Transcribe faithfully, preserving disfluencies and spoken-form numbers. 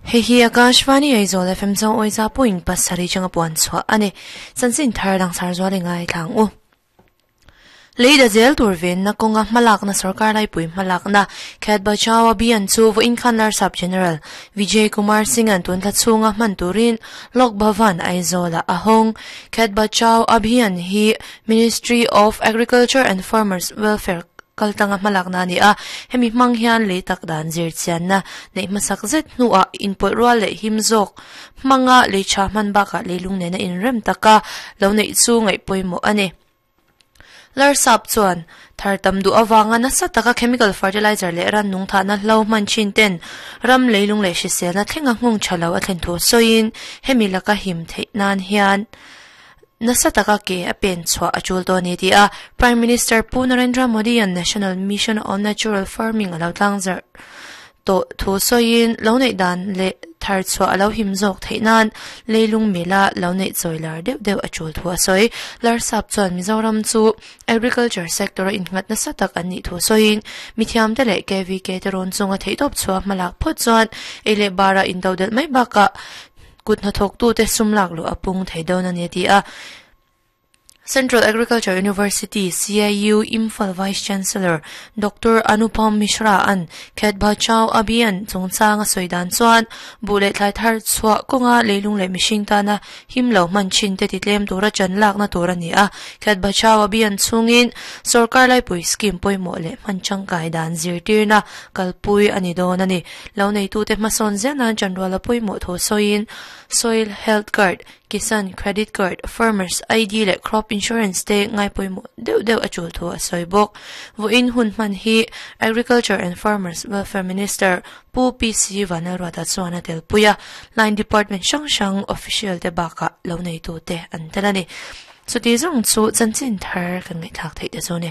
Hei hi Akashvani Aizawl F M zo oiza point pasarih changa puan chhuah a ni. Chanchin thar langsar zual i ngaithlang u. Leida zel tur ven na kawnga hmalakna sarkar laipui hmalakna Khet Bachao Abhiyan chu vawiin khan Larsap General Vijay Kumar Singh an tun thla chhunga hman turin Lok Bhavan Aizawla a hawng. Khet Bachao Abhiyan hi Ministry of Agriculture and Farmers Welfare kaltanga hmalakna a ni a, hemi hmang hian lei tak dan zir chianna neih hmasak zet hnuah inpawlh rual leh him zawk hmanga lei tha hman bakah leilung nena inrem taka lo neih chu ngaih pawimawh a ni. Larsap chuan thar tam duh avanga nasa taka chemical fertilizer leh ran nung thahna hlo hman thin ten ram leilung leh hriselna thlenga nghawng tha lo a thlen thu sawiin hemi laka him theih nan hian nasa taka ke a pen chhuah a tul dawn a ni ti a. Prime Minister Pu Narendra Modi an National Mission on Natural Farming a lo tlang zarh tawh thu sawiin lo neih dan leh thar chhuah a lo him zawk theih nan leilung mila lo neih chawi lar deuh deuh a tul thu a sawi. Larsap chuan Mizoram chu agriculture sector a innghat nasa tak an nih thu sawiin mithiam te leh K V K te rawn chunga theihtawp chhuah hmalak phawt chuan ei leh bara intodelh mai bakah kut hnathawk tu te sum lak luh a pung thei dawn a ni ti a. Central Agriculture University C I U Imphal Vice Chancellor Doctor Anupam Mishra an Khet Bachao Abhiyan chungchang a sawi dan chuan buh leh thlai thar chhuah kawnga leilung leh mihring tana him lo hman thin te titlem tura chan lakna tur a ni a. Khet Bachao Abhiyan chungin sarkar laipui scheme pawimawh leh hman tangkai dan zirtirna kalpui a ni dawn a ni. Lo neitu te hmasawn zel nan chanruala pawimawh thaw sawiin Soil Health Card, Kisan Credit Card, Farmers I D leh Crop Insurance te ngai pawimawh deuh deuh a tul thu a sawi bawk. Vawiin hun hman hi Agriculture and Farmers Welfare Minister Pu P C Vanlalruata chuan a tel pui a, Line Department hrang hrang official te bakah lo neitu te an tel a ni. Chuti zawng chu chanchin thar kan ngaihthlak theih te chu ni.